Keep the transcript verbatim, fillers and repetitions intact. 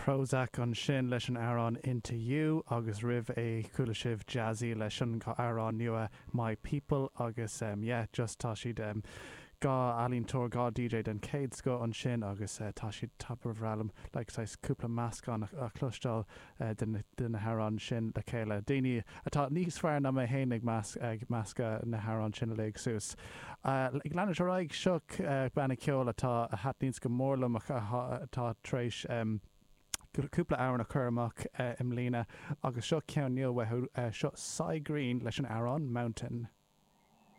Prozac ansin leis an amhrán Into You agus roimh é chuala sibh Jazzy leis an amhrán nua My People agus um, yeah, just tá siad um, dhá ealaíontóir dhá DJ den chéad scoth ansin agus uh, tá siad tapa bhreá liom like saghas cúpla meascán a chloisteáil uh, de na hamhráin sin le chéile. Daoine atá níos fearr ná mé féin ag meas ag meascadh na hamhráin sin le suas. Uh, ag leanúint ar aghaidh seo uh, banna ceoil atá a thaitníonns go mór liom atá tar éis um, cúpla amhrán a chur amach uh, i mbliana agus seo ceann nua uh, seo Si Green leis an amhrán Mountain.